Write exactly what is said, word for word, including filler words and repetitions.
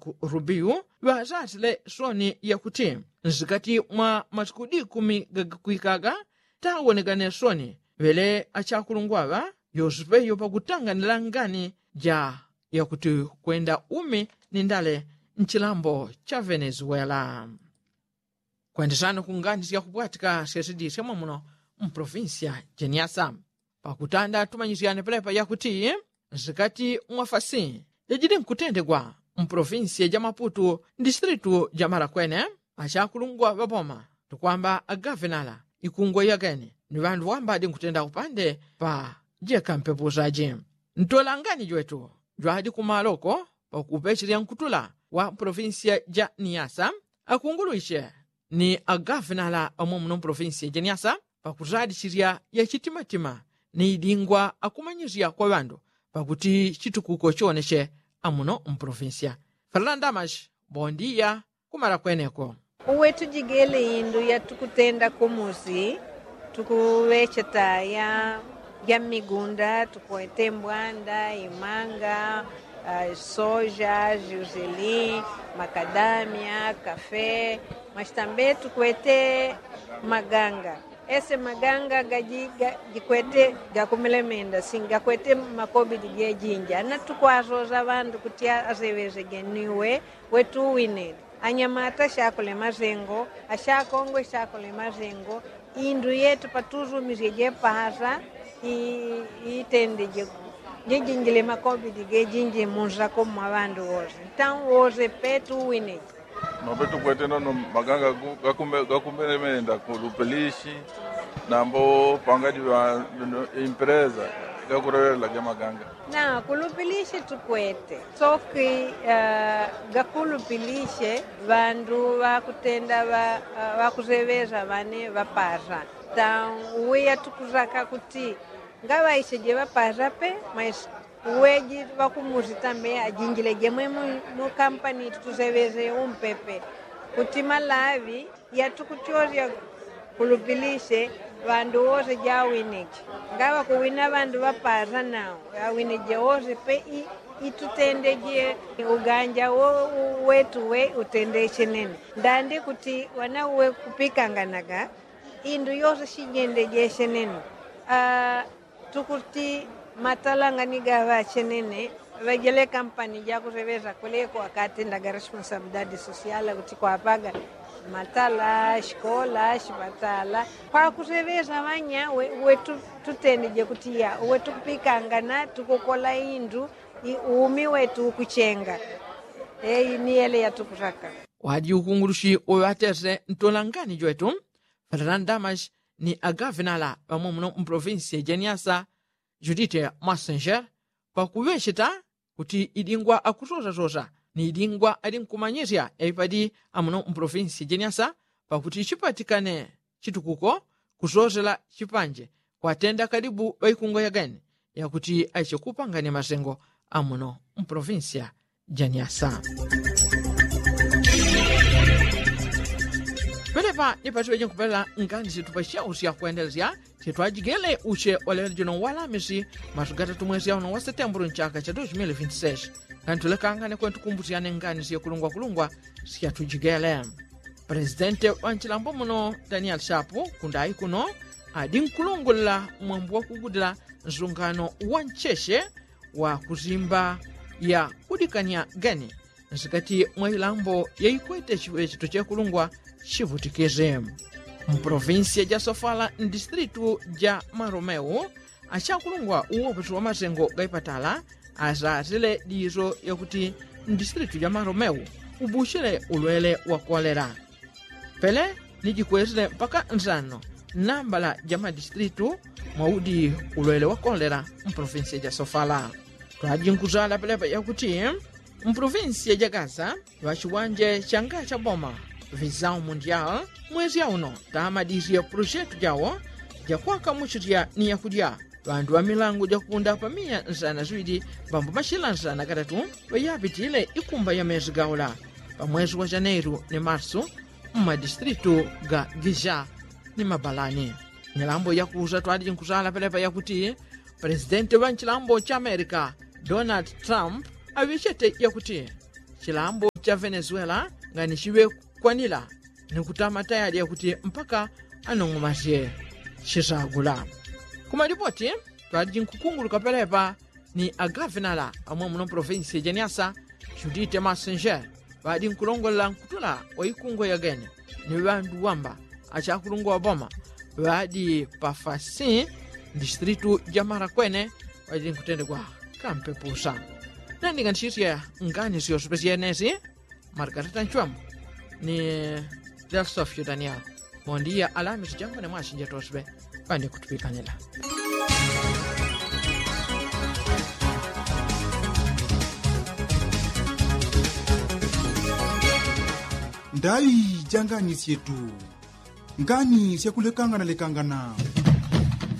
ku rubiu ŵazasile soni yakuti nsikati mwa masiku di kumi gagakwikaga tawonegane soni ŵele achakulungwaŵa yosipeyo pakutanganila ngani ja yakuti kwenda umi ni ndale nchilambo cha venezuela. Kwendesana ku ngani syakupwatika syesidisya mwamuno mpolofinsiya jeniasa pakutanda tumanyisyane pelepa yakuti nsikati mwafasi yajili nkutendegwa mpolofinsiya ja maputu ndisitilitu ja marakwene achakulungwa ŵaboma tukwamba agavenala ikungwa yageni ni ŵandu ŵambadi nkutenda kupande pa jeka mpepusaji ntolangani jwetu jwadi kumaloko pakupechilya nkutula wa polofinsiya ja niyasa akungulwishe ni agavenala amwe muno mpolofinsiya ja niyasa pakuzadishilya yachitimatima ni idingwa akumanyisya kwa ŵandu pakuti chitukuko choneshe amuno mpolofinsiya. Fernanda mashi bondiya kumala kweneko. Uwe tujigele indu yatukutenda kumusi tukuŵecheta ya mmigunda tukwete mbwanda imanga soja juzili makadamia kafe. Mwashitambe tukwete maganga ese maganga gajikwete gakumilemenda singakwete makobidi gejinja na tukwasosa ŵandu kuti aseŵesege niwe wetuwinile anyamata shakole masengo ashakongwe shakole masengo indu yetu patusumisye jepahasa itende jejinjile makobidi gejinji munsako mwa ŵandu wose ntan wose petuwinile. Mapetu kwete nono maganga gakumelemenda kulupilishi nambo pangadi ŵa impreza gakulelela ge maganga. Na kulupilishi tukwete soki gakulupilishe ŵandu ŵakutenda ŵakuseŵesa ŵane ŵapasa. Tan uwe yatukusaka kuti ngaŵaishe jeŵapasa pe maisi uweji ŵakumusi tambe ajinjile jemwe mu kampani tukuseŵese umpepe kuti malaŵi yatukutyosya kulupilishe ŵandu wose jawinije ngaŵakuwina ŵandu ŵapasa nao awinije wose pe itutendeje uganja wetu we utendeshe nene ndandi kuti ŵana uwe kupikanganaga indu yose shijendejeshe nene. Tukuti matala ngani gaŵache nene ŵajele kampani jakuseŵesa kweleko akatendaga responsabilidadi sosiala kuti kwapaga matala shikola shipatala kwakuseŵesa ŵanya we tutendeje kuti ya we tukupikangana tukukola indu umi wetu ukuchenga. Eyi ni yele yatukusaka. Wadi ukungulushi uŵatese ntolangani jwetu fernanda mashi ni agavenala ŵamwe muno mpolofinsiya ja niasa judite mwasenjera pakuŵecheta kuti idingwa akusosasosa ni idingwa ali nkumanyisya yaipadi amuno mpolofinsiya ja niasa pakuti chipatikane chitukuko kusosela chipanje kwatenda kalibu ŵaikungwa yageni yakuti aiche kupanganya masengo amuno mpolofinsiya ja nyasa. Pelepa ni pasiŵeje nkupelela ngani situpa syausya kwendelesya sitwajigele uche walelo jino walamisi masu gatatu mwesi yauno wa setembulu nchaka cha dos mil vinti seis. Ngani tulekangane kwentu kumbusyane ngani syekulungwakulungwa syatujigele. Presidente wa nchilambo muno daniel shapu kundai kuno adi nkulungulila mwambu wakugudila nsungano wa ncheche wa kuzimba ya kudikanya geni nsikati mwa ilambo yaikwete chiŵechito chekulungwa chivutikisi. Mpolovinsiya ja sofala ndisitilitu ja maromeu achakulungwa uwoposi wa masengo gaipatala asasile diso yakuti ndisitilitu ja maromeu ubuchile ulwele wa kolera. Pele nijikwesile mpaka nsano nambala ja madisitilitu mwaudi ulwele wa kolera mpolovinsiya ja sofala. Twajinkusala pelepa yakuti mpolovinsiya ja gaza ŵachiwanje changa cha boma visau mundial mwesya uno tamadisye puloshetu jawo jakwakamuchilya ni yakudya ŵandu ŵa milangu jakupunda pa miya nsana ziŵili mbambo machila nsana gatatu ŵayapitile ikumba ya mesi gaula pa mwesi wa janeiru ni marsu mmadisitilitu ga giza ni mabalani. Nyalambo yakusa twaliji nkusala pelepa yakuti pelesidenti ŵa nchilambo cha amerika donald trump aŵechete yakuti chilambo cha venezuela ngani chiŵe kwanila ni kutama tayali yakuti mpaka anong'omasye chisagula. Kumalipoti ŵaliji nkukunguluka pelepa ni agavenala amwe muno provinsi ya janiasa, judite masenjere ŵadi nkulongolela nkutula wa ikungo yagene ni ŵandu wamba achakulungwa wa boma ŵadi pafasi mdistritu ja mara kwene ŵadi nkutendegwa kampepusa. Nandinganisisye ngani syosupesye yenesi margarita nchwemu ni delsofio daniel. Mondiya alamisi jangwene mwasinja toswe ŵani kutupikanila. Ndai janganisye tu ngani syakulekangana lekangana.